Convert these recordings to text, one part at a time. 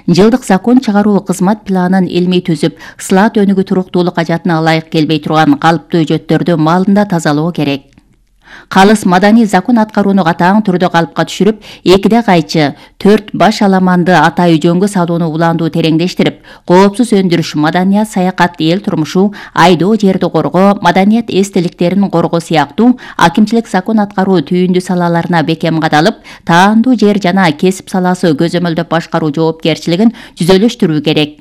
жылдык закон чыгаруу кызмат планын илмий түзүп, ысылаат өнүгүү туруктуулук ажатына ылайык келбей турган калыптуу жөттөрдү маалында тазалоо керек. Калыс маданий закон аткарууну катаң түрдө калыпка түшүрүп, 2 кайчы 4 баш аламанды атайы жөнгө салууну улаандуу тереңдештирип, коопсуз өндүрүш, маданият, саякат, эл турмушу, айдоо, жерди коргоо, маданият эстеликтерин коргоо сыяктуу акимчилик закон аткаруу түйүндүү салаларына бекем кадалып, таандуу жер жана кесип саласы көзөмөлдөп башкаруу жоопкерчилигин түзөлүштүрүү керек.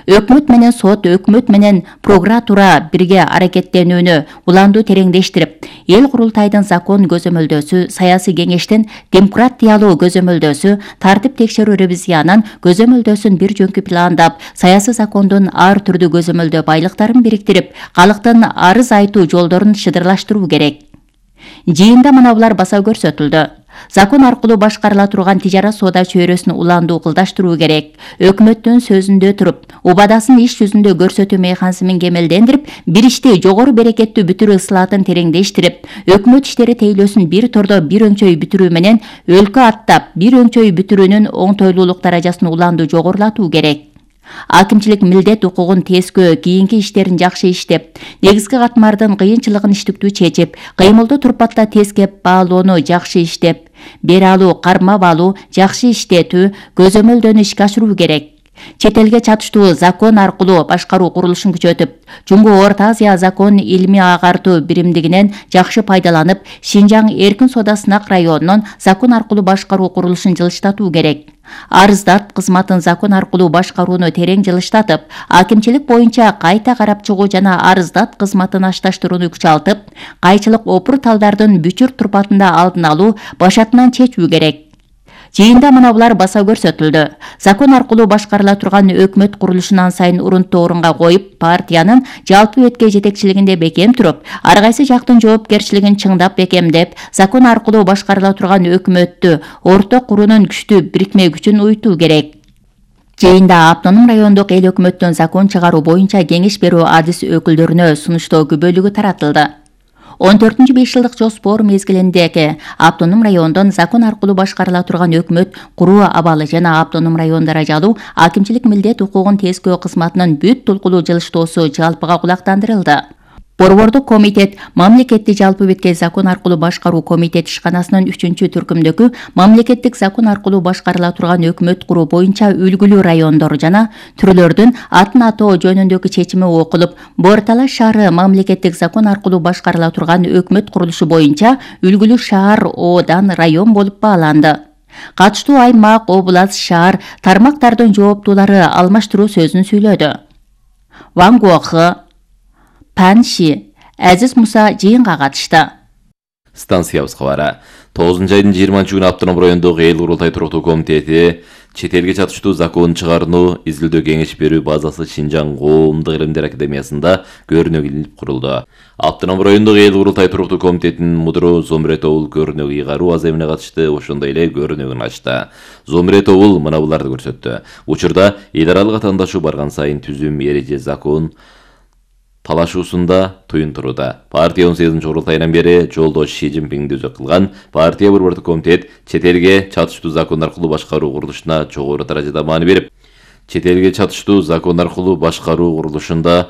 Өкмөт менен сот, өкмөт менен прокуратура бирге аракеттенүүнү улаандуу тереңдештирип, эл курултайдын закон көзөмөлдөөсү, саясий кеңештин демократиялуу көзөмөлдөөсү, тартип текшерүү ревизиянын көзөмөлдөөсүн бир жөнкү пландап, саясий закондун ар түрдүү көзөмөлдөө байлыктарын бириктирип, калктын арыз айтуу жолдорун шыдырлаштыруу керек. Жыйында мына баса көрсөтүлдү. Закон аркылуу башкарыла турган тижара соода чөйрөсүн улаандуу кылдаштыруу керек. Өкмөттүн сөзүндө туруп, убадасын иш жүзүндө көрсөтүү механизмин кемелдендирип, бир ишти жогору берекеттүү бүтүрүү ысылаатын тереңдештирип, өкмөт иштери тейлөөсүн бир тордо бир өңчөй бүтүрүү менен өлкө аттап, бир өңчөй бүтүрүүнүн оңтойлуулук даражасын улаандуу жогорулатуу керек. Акимчилик милдет укугун тескөө, кийинки иштерин жакшы иштеп, негизги катмардын кыйынчылыгын иштиктүү чечип, кыймылды турпатта тескеп баалоону жакшы иштеп, бере алуу, кармап алуу, жакшы иштетүү, көзөмөлдөнү ишке ашыруу керек. Чет элге чатыштуу закон аркылуу башкаруу курулушун күчөтүп, Жумгу Орто Азия закон илмий агартуу биримдигинен жакшы пайдаланып, Шинжаң эркин соода сынак районунун закон аркылуу башкаруу курулушун жылыштатуу керек. Арыздат кызматын закон аркылуу башкарууну терең жылыштатып, акимчилик боюнча кайта карап чыгуу жана арыздат кызматын ашташтырууну күчалтып, кайчылык опур талдардын бүчүр турпатында алдын алуу, башатынан чечүү керек. Жыйында мына баса көрсөтүлдү. Закон аркылуу башкарыла турган өкмөт курулушунан сайын урунттуу орунга коюп, партиянын жалпы өткө жетекчилигинде бекем туруп, ар кайсы жактын жоопкерчилигин чыңдап бекемдеп, закон аркылуу башкарыла турган өкмөттү орто куруунун күчтүү бирикме күчүн уютуу керек. Жыйында автоном райондук эл өкмөттүн закон чыгаруу боюнча кеңеш берүү адис өкүлдөрүнө сунуштоо күбөлүгү таратылды. 14-5 жылдык жоспор мезгилиндеги автоном райондон закон аркылуу башкарыла турган өкмөт куруу абалы жана автоном район даражалуу акимчилик милдет укугун тескөө кызматынын бүт тулкулуу жылыштоосу жалпыга кулактандырылды. Борбордук комитет мамлекеттик жалпы беткей закон аркылуу башкаруу комитет ишканасынын 3-түркүмдөгү мамлекеттик закон аркылуу башкарыла турган өкмөт куруу боюнча үлгүлүү райондор жана түрлөрдүн атын атоо жөнүндөгү чечими окулуп, Борталаш шаары мамлекеттик закон аркылуу башкарыла турган өкмөт курулушу боюнча үлгүлүү шаар оодан район болуп бааланды. Катыштуу аймак, область, шаар тармактардын жооптуулары алмаштыруу сөзүн сүйлөдү. Ван Гуохы, Панши, Азиз Муса жыйынга катышты. Станциябыз кабары. 9-айдын 20-күнү автоном райондогу эл курултай туруктуу комитети чет элге чатыштуу закон чыгарууну изилдөө кеңеш берүү базасы Шинжаң коомдук илимдер академиясында көрүнөк курулду. Автоном райондогу эл курултай туруктуу комитетинин мудру Зомрет Оул көрүнөк ыйгаруу аземине катышты, ошондой эле көрүнөгүн ачты. Зомрет Оул мына буларды көрсөттү. Учурда эл аралык атаандашуу барган сайын түзүм, эреже, закон талашуусунда туюнтурууда. Партия 18-курултайынан бери жолдош Ши Цзиньпиңди өзөк кылган партия борбордук комитет чет элге чатыштуу закон аркылуу башкаруу курулушуна жогору даражада маани берип, чет элге чатыштуу закон аркылуу башкаруу курулушунда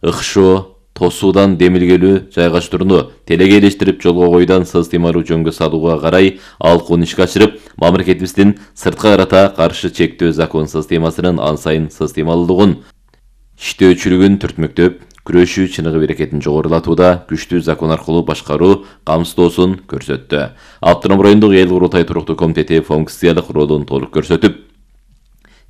ыкшоо, тосуудан демилгелүү жайгаштырууну телегейлештирип жолго койуудан сыз-тыймаруу жөнгө салууга карай алкуун ишке ашырып, мамлекетибиздин сырткы карата каршы чектөө закон системасынын ан сайын сыз-тыймалуулугун, иштөөчүлүгүн түртмөктөп, күрөшүү чыныгы берекетин жогорулатууда күчтүү закон аркылуу башкаруу камсыздоосун көрсөттү. Автоном райондук эл курултай туруктуу комитети функциялык ролун толук көрсөтүп,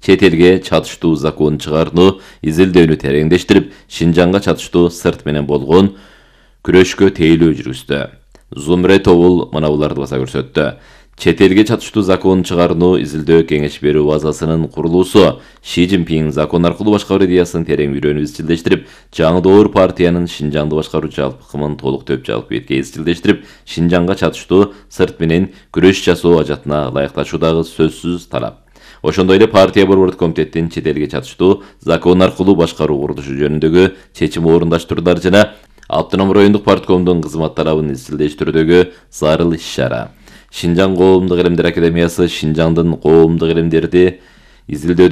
чет элге чатыштуу закон чыгарууну изилдөөнү тереңдештирип, Шинжаңга чатыштуу сырт менен болгон күрөшкө тейлөө жүргүздү. Зомрет Оул мына буларды баса көрсөттү. Чет элге чатыштуу закон чыгарууну изилдөө кеңеш берүү базасынын курулуусу Ши Цзиньпиң закон аркылуу башкаруу идеясын терең үйрөнүп изчилдештирип, жаңы доор партиянын Шинжаңды башкаруу жалпыкымын толук төп жалпы бетке изчилдештирип, Шинжаңга чатыштуу сырт менен күрөш жасоо ажатына ылайыкташуудагы сөзсүз талап. Ошондой эле партия борбордук комитеттин чет элге чатыштуу закон аркылуу башкаруу курулушу жөнүндөгү чечими орундаштыруулар жана автоном райондук парткомдун кызмат талабын изчилдештирүүдөгү зарыл иш-чара. Шинжаң коомдук илимдер академиясы Шинжаңдын коомдук илимдерди изилдөөдө